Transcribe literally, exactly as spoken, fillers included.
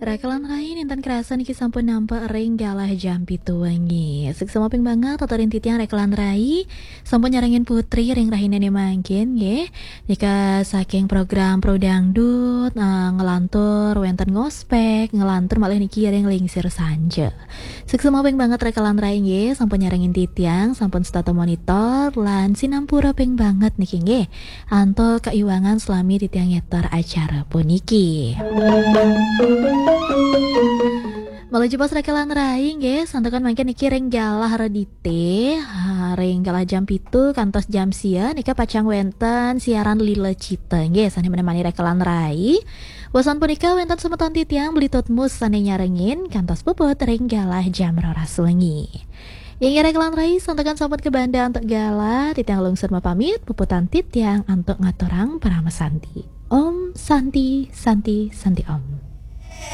Rekelan rai, ninten kerasa niki sampun nampak ring galah jam pitu wengi. Suksma ping banget aturin titiang rekelan rai, sampun nyarengin Putri ring rahinane mangkin nggih. Nika saking program Pro Dangdut, eh, ngelantur wenten ngospek, ngelantur malih niki ring Lingsir Sanja. Suksma ping banget rekelan rai nggih, sampun nyarengin titiang, sampun setata monitor, lan sinampura ping banget niki nggih. Antuk kaiwangan selami titiang ngeter acara puniki. Malih jebos rekelan rai nggih, santukan mangkin niki ring galah redite, ha, ring galah jam pitu kantos jam sia nika pacang wenten siaran Lila Cita nggih, sane menemani rekelan rai. Wasan punika wenten semeton titiang Beli Tutmus sane nyarengin kantos puput ring galah jam roras wengi. Inggih rekelan rai, santukan sampun kabanda antuk galah, titiang lungsur mapamit, puputang titiang antuk ngaturang parama santi. Om Santi, Santi, Santi Om.